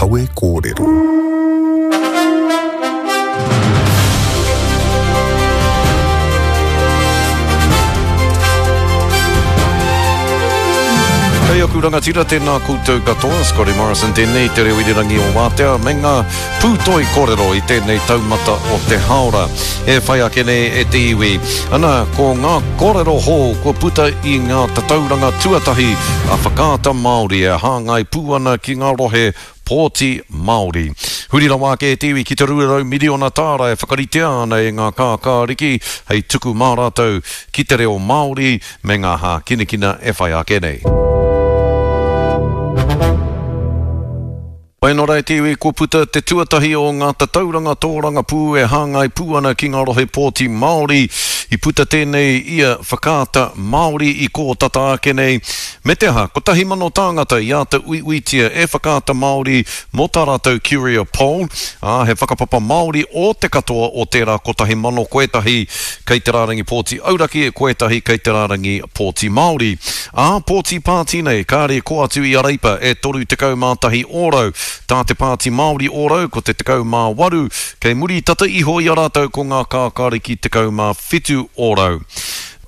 Kawe Kōrero. Kei aku rangatira, tēnā koutou katoa, Scotty Morrison tēnei, te reo irirangi o Wātea, me ngā pūtoi kōrero i tēnei taumata o te hāora e whai ake nei e te iwi. Ana, ko ngā kōrero hou kua puta i ngā tatauranga tuatahi a Whakaata Māori e hāngai pū ana ki ngā rohe pōti Māori. Huri rawa ake e te iwi ki te 200 miriona tāra e whakaritea ana e ngā kākāriki hei tuku mā rātou ki te reo Māori me ngā hākinakina e whai ake nei. Whai anō rā e te iwi, kua puta te tuatahi o ngā tatauranga tōrangapū e hāngai pū ana ki ngā rohe pōti Māori. I puta tēnei i a Whakaata Māori i kō tata ake nei. Me te aha, 1,000 tāngata i āta uiuitia e Whakaata Māori mō tā rātou Curia Poll, ā, he whakapapa Māori ō te katoa o tērā 1,000 ko ētahi kei te rārangi pōti auraki, ko ētahi kei te rārangi pōti Māori. Ā pōti pāti nei, kāre kō atu i a Reipa e 31 ōrau, tā te Pāti Māori ōrau ko te 18, kei muri tata iho i a rātou ko ngā kākāriki 17 ōrau.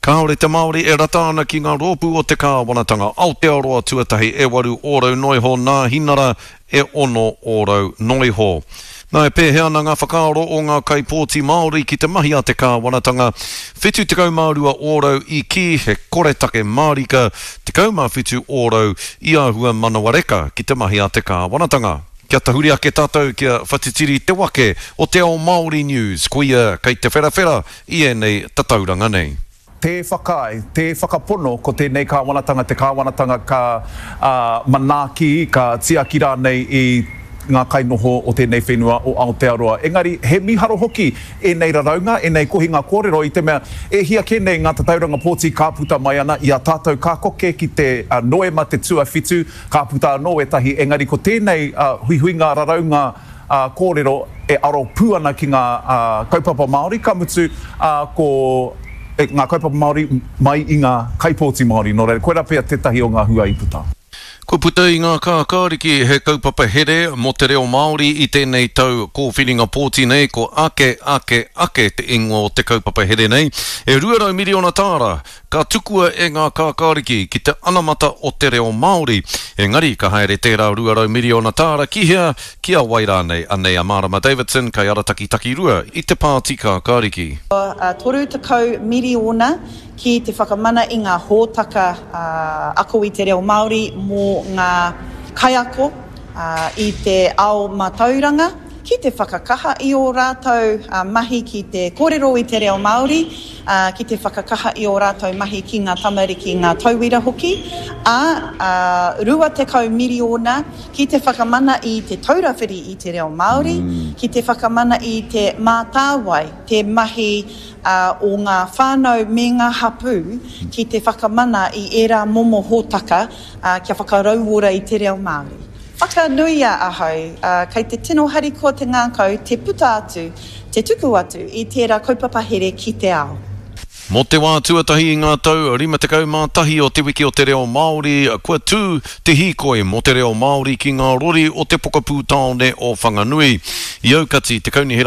Kāore te Māori e rata ana ki ngā rōpū o te kāwanatanga Aotearoa tuatahi e 8 ōrau noiho nā Hinara e 6 ōrau noiho. Nā, e pēhea ana ngā whakaaro o ngā kaipōti Māori ki te mahi a te kāwanatanga? 72 ōrau i kī he koretake mārika, 17 ōrau i āhua manawareka ki te mahi a te kāwanatanga. Kia tahuri ake tātou kia whatitiri te wake o Te Ao Māori News, koia kei te wherawhera i ēnei tatauranga nei. Tē whakaae, tē whakapono ko tēnei kāwanatanga te kāwanatanga ka manaaki, ka tiaki rānei i ngā kainoho o tēnei whenua o Aotearoa. Engari, he mīharo hoki ēnei raraunga, ēnei kohinga kōrero i te mea e hia kē nei ngā tatauranga pōti ka puta mai ana i a tātou ka koke ki te Noema te tuawhitu, ka puta anō ētahi, engari ko tēnei huihuinga raraunga kōrero e aro pū ana ki ngā kaupapa Māori, ka mutu, ko ngā kaupapa Māori mai i ngā kaipōti Māori, nō reira, koirā pea tētahi o ngā hua i puta. Kua puta i ngā kākāriki he kaupapa here mō te reo Māori i tēnei tau kōwhiringa pōti nei, ko Ake, Ake, Ake te ingoa o te kaupapa here nei. E 200 miriona tāra Ka tukua e ngā kākāriki ki te anamata o te reo Māori. Engari, ka haere tērā 200 miriona tāra ki hea, ki a wai rānei? Anei a Marama Davidson, kaiarataki takirua i te Pāti Kākāriki. 30 miriona ki te whakamana i ngā hōtaka ako i te reo Māori mō ngā kaiako i te ao mātauranga. Ki te whakakaha i ō rātou mahi ki te kōrero i te reo Māori, ki te whakakaha i ō rātou mahi ki ngā tamariki, ngā tauira hoki, ā, 20 miriona ki te whakamana i Te Taura Whiri i te Reo Māori, ki te whakamana i Te Mātāwai, te mahi o ngā whānau me ngā hapū ki te whakamana i ērā momo hōtaka kia whakarauora i te reo Māori. Whakanuia ahau, ā, kei te tino harikoa te ngākau te puta atu, te tuku atu i tērā kaupapa here ki te ao. Mō te wā tuatahi i ngā tau 51 o Te Wiki o te Reo Māori, kua tū te hīkoi mō te reo Māori ki ngā rori o te pokapū tāone o Whanganui. I aukati te Kaunihera.